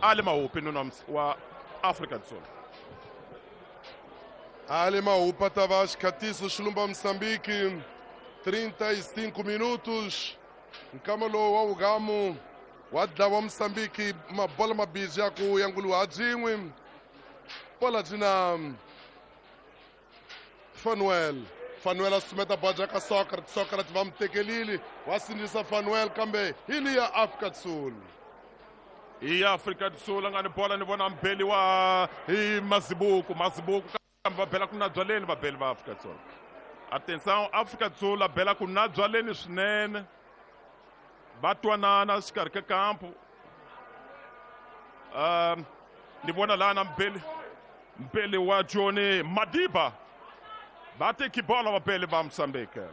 Ali Mahupi nuna wa África do Sul. Ali Mahupa Tavares Catiço Xilumba Moçambique, 35 minutos. Nkamalo wa Ugamu wa dlawa Moçambique, mabola mabiji ya ku yangulu hajin'we. Bola jina Fanuel. Fanuel a sumeta bola ka Sócrates, Sócrates va mutekelile, wa sindzisa Fanuel kambe hi liya Afrika do Sul. I Afrika do Sul nga ni bola ni vona mbeli wa hi Mazibuko, Mazibuko kambe va bela ku na byaleni vabeli va Afrika do Sul. Atenção, Afrika do Sul a bela ku na byaleni swinene. Va twanana xikarhi ka kampo. Ni vona lana mbeli wa Johnny Madiba. Va teki bola vabeli va Mozambique.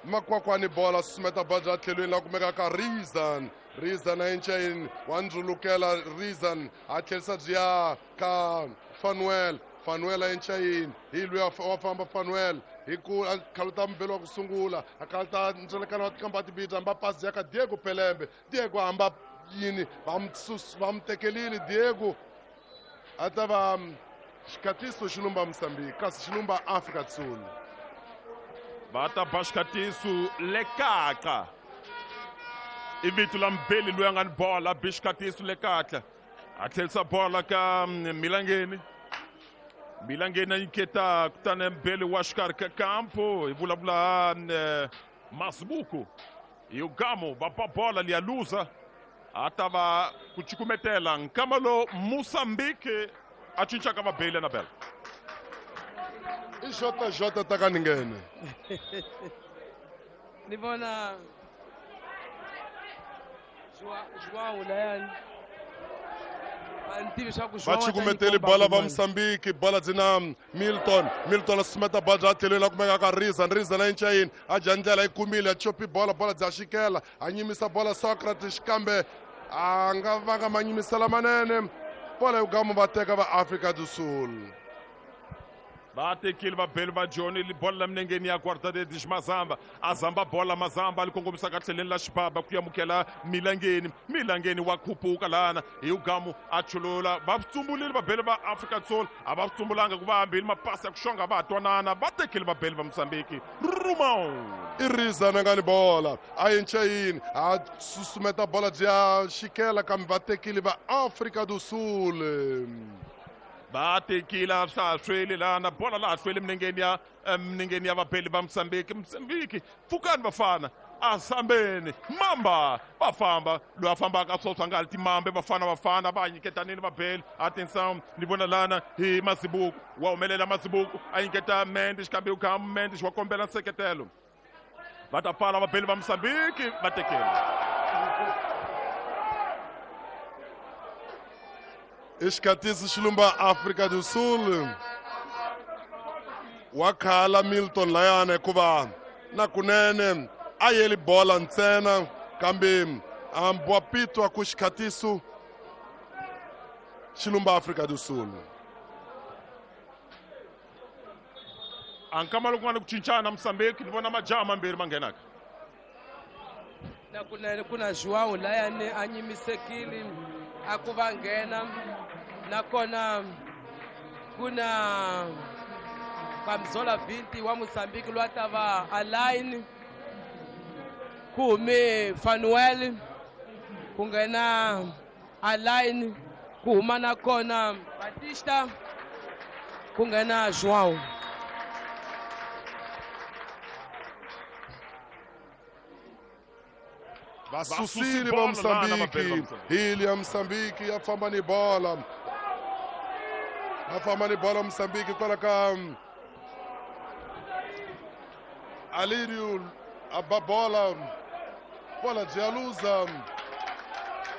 Makwakwani bola sumeta bola tlhelweni la kumeka ka Rizan. Rizan a enchain wa ndzulukela Rizan a tlherisa bya ka Fanuel. Fanuel a enchain hi loyi wa famba Fanuel hi ku a khaluta mbeli wa ku sungula a khaluta ndzelekano wa tikamba tibita hamba pasi ya ka Diego Pelembe. Diego hamba yini va mu tekelile Diego a ta va xikatiso xilumba Mozambique kasi xilumba Afrika do Sul. Va ta ba xikatiso lekaka. I vito la mbeli loyi a nga ni bola bi xikatiso lekatla. A tlherisa bola ka Milangeni. Milangeni a nyiketa kutani mbeli wa xikarhi ka kampo hi vulavula Mazibuko. Hi Ugamo va ba bola liya luza. A ta va ku cukumetela nkama lo Mozambique a cincaka vabeli na bela. I Jota Jota ta ka ninghene. Ni vona João layani. Va cukumeteli bola va Mozambique, bola dzina Milton. Milton a sumeta bola tlhelweni la kumeka ka Rizan. Rizan a enchayini a dya ndlela yi kumile a chopi bola, bola dya xikela a nyimisa bola Socrates kambe a nga vanga manyimisela manene. Bola Ugamo va teka va Afrika do Sul. Va tekile vabeli va Johnny bola la minengeni ya Guarda-Redes Mazamba. A zamba bola Mazamba li kongomisa ka tlheleni la xibaba ku amukela Milangeni. Milangeni wa khupuka lana hi Ugamo a chulula. Va tsumbulile vabeli va Afrika do Sul. A va tsumbulanga ku va hambile mapasi ya ku xonga va twanana. Va tekile vabeli va Mozambique. Rumão. I Rizana nga ni bola a enchayini a susumeta bola bya xikela kambe va tekile va Afrika do Sul. Va tekile a swa ha hlweli lana bola laha hlweli minengeni ya vabeli va Mozambique. Mozambique pfukani vafana a sambeni mamba va famba loyi a fambaka swoswa nga ri timambe vafana vafana va nyiketanini vabeli. Atenção ni vona lana hi Mazibuko wa humelela Mazibuko a nyiketa Mendes kambe u Mendes wa kombela nseketelo. Va ta pfala vabeli va Mozambique va tekile. Xikatisi xilumba Afrika do Sul. Wa khala Milton layana hikuva na kunene a yeli bola ntsena kambe wa pitwa ku xikhatiso xilumba Afrika do Sul. A nkama loko ku nga ni ku cincana Mozambique ni vona majaha mambirhi ma nghenaka. Na kunene ku na João layani a nyimisekile a ku va nghena nakona ku na Kamzola Vinti wa Mozambique loyi a ta va Alain ku hume Fanuel ku nghena Alain ku huma nakona Batista ku nghena João. Vasusile va Mozambique, hili ya Mozambique ya famba ni bola. Va famba ni bola Mozambique kwala ka Alirio a ba bola. Bola Gialuza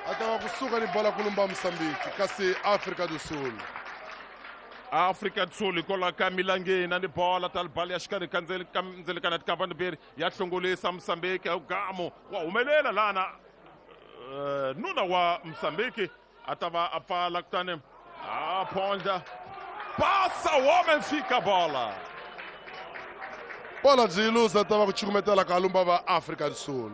a ta va kusuka ni bola kulumba Mozambique kasi Afrika do Sul. Afrika do Sul hikwalaho ka Milangeni ni bola ta bala ya xikarhi ka ndzelekana tikamba mbirhi ya hlongolisa Mozambique. Ugamo wa humelela lana nuna wa Mozambique a ta va a pfala kutani a phondla passa o homem fica bola. Bola byi luza ta va ku cukumetela ka lumba va Afrika do Sul.